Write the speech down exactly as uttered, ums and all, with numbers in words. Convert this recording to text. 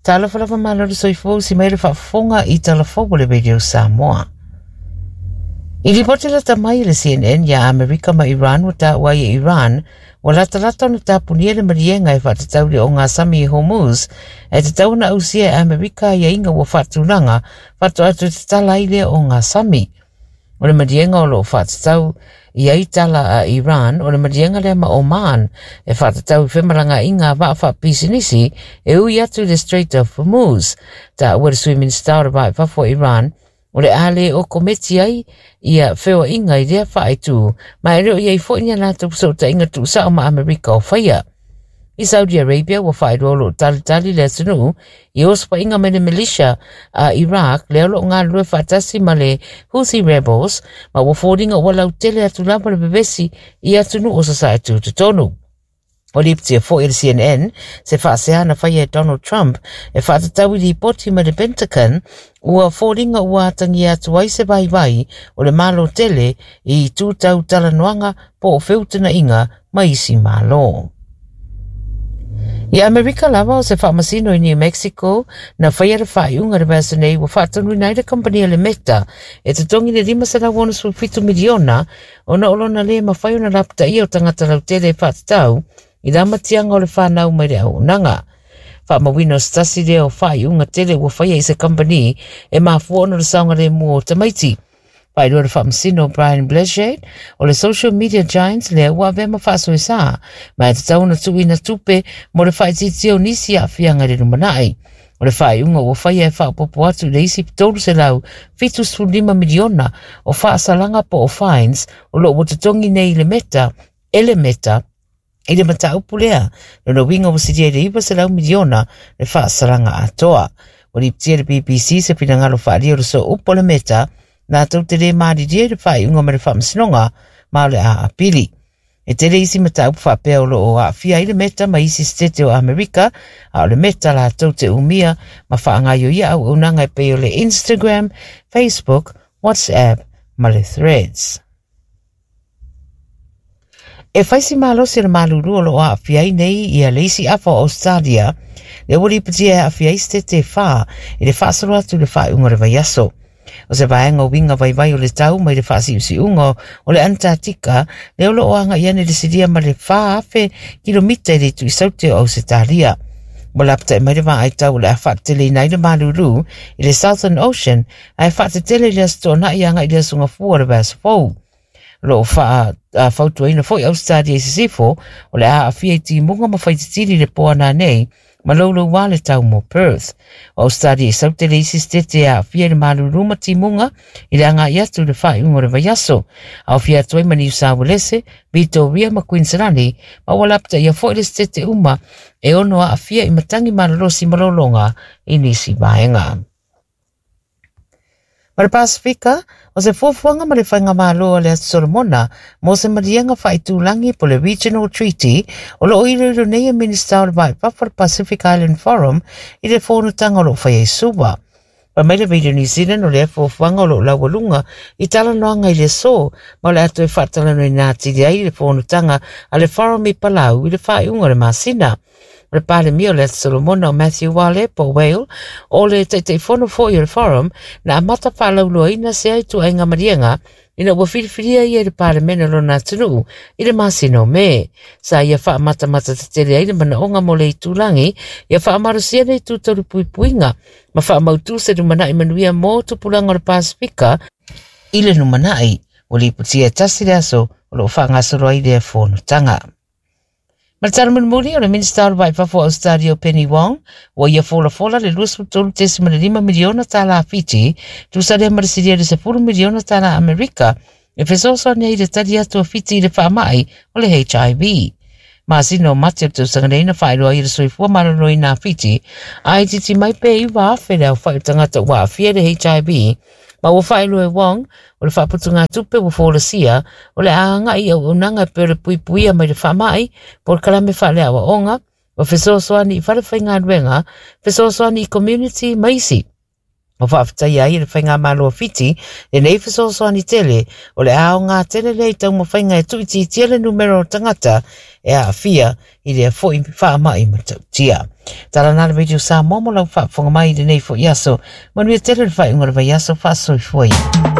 Talofa lava malo le soifua usi mai le faafofoga i talafou o le Radio Samoa. I lipoti lata mai le C N N ia Amerika ma Iran ua taua ai e Iran ua latalata ona tapunia le maliega e faatatau le ogasami i Hormuz e tatau ona ausia e Amerika aiaiga ua faatulaga faatoa toe tatala ai lea ogasami. O le maliega o loo faatatau i ai tala a Iran o le maliega lea ma Oman e faatatau i femalagaaiga a vaa faapisinisi e ui atu i le Strait of Hormuz. Taua le sui Minista o le Va i Fafo o Iran o le a le o kometi ai ia feoaiga i lea faaitu ma e le o iai foi ni a latou fesootaiga tuusao ma Amerika o faia. I Saudi Arabia ua faailoa o loo talitali le atunuu i osofaiga mai le militia a Iraq lea o loo galulue faatasi ma le Houthi Rebels ma ua foliga ua lautele atu lava le vevesi i atunuu o sasae tutotonu. O lipotia foi e le C N N se faasea na faia e Donald Trump e faatatau i lipoti mai le Pentagon ua foliga ua atagia atu ai se vaivai o le malo tele i tutau talanoaga po o feutanaiga ma isi malo. I Amerika lava o se faamasino i New Mexico na faia le faaiuga le vaiaso nei ua faatonuina ai le kamupani le Meta e totogi le lima selau ono fitu miliona ona o lona le mafai ona lapataia o tagata lautele e faatatau i le amatiaga o le whanau mai le auaunaga. Faamauina o se tasi lea o faaiuga tele ua faia i se kamupani e mafua ona le saogalemu o tamaiti. Faailoa le faamasino Brian Blaschette o le social media giants lea ua avea ma faasoesa ma e tatau ona tuuina tupe mo le faaitiitia o nisi aafiaga i le lumanai. O le faaiuga ua faia e faaopoopo atu i le isi tolu selau fitu sefulu lima miliona o faasalaga po o fines o loo ua totogi nei i le Meta e le Meta i le mataupu lea lona uiga ua silia i le iwa selau miliona le faasalaga atoa. Ua lipotia le B B C se finagalo faaalia o le sooupu o le Meta latou te le malilie i le faaiuga ma le faamasinoga ma o le a apili. E tele isi mataupu faapea o loo aafia ai le Meta ma isi setete o Amerika, a o le Meta latou te umia ma faagaioia auaunaga e pei o le Instagram, Facebook, WhatsApp ma le Threads. E faisi malosi le malulu o loo aafia ai nei ia le isi afa o Australia, le ua lipotia e aafia ai setete whā i le faasolo atu le faaiuga o le vaiaso. O se vaega o uiga vaivai o le tau mai le faasiusiuga o le Antarctica, lea o loo agai ane le silia ma le whā afe kilomita i le itu i saute o Ausetalia. Ua lapatai mai le vaaitau o le a faateteleina ai le malulu i le Southern Ocean ae faatetele i le aso Toonai agai i le aso Gafua o le vaiaso fou. Loo faafautuaina foi Australia i sisifo o le a aafia i timuga ma faititili le poana nei ma louloua le tau mo Perth. O Australia i saute le isi setete e aafia i le malulu ma timuga i le agai atu i le faaiuga o le vaiaso. Aofia atu ai ma New South Wales, Victoria ma Queensland ma ua lapataia foi le setete uma e ono aafia i matangi malolosi ma lologa i nisi vaega. Ma le Pasifika, o se fuafuaga ma le faigamalo a le Aso Solomona mo se maliega faaitulagi po le Regional Treaty o loo iloilo nei e Minista o le Va i Fafo o le Pacific Island Forum i le fonotaga o loo faia i Suva. Fai mai le Radio New Zealand o lea fuafuaga o loo laualuga i talanoaga i le aso ma o le a toe faatalanoaina atili ai le fonotaga a le Forum i Palau i le faaiuga o le masina. O le Palemia o le Aso Solomona o Matthew Wale po Whale o le taitaifono foi o le Forum na amata faalauloaina se ai tuaiga maliega ina ua filifilia ia i le Palemene o lona atunuu i le masina o Me. Sa ia faamatamata tetele ai le manaoga mo le itulagi ia faamalosia le itu tau le puipuiga ma faamautu se lumanai manuia mo tupulaga o le Pasifika i le lumanai. Ua lipotia e tasi le aso o loo faagasolo ai lea fonotaga. Ma le tala mulimuli o le Minista o le Va i Fafo o Australia o Penny Wong ua ia folafola le luasefulu tolu tesima le lima miliona tala Fiti tusa lea ma le silia i le sefulu miliona tala Amerika e fesoasoani ai i le tali atu a Fiti i le faamai o le H I V. Masina o Mate o le tausaga nei na faailoa ai le soifua maloloina a Fiti a itiiti mai pe iwa afe le aofai o tagata ua aafia i le H I V ma ua faailoa e Wong o le faaputuga tupe ua folasia o le a agai auaunaga e pei o le puipuia mai le faamai po o le kalame faaleaoaoga o fesoasoani i fale faigaluega, fesoasoani i community ma isi. O faafetaia ai e le Faigamalo a Fiti lenei fesoasoani tele o le aoga tele lea i taumafaiga e tuuitiitia le numera o tagata e aafia i lea foi faamai matautia. Tala na le Radio Samoa mo lau faafofoga mai i lenei foi aso. Manuia tele le faaiuga o le vaiaso, faasoifua ia.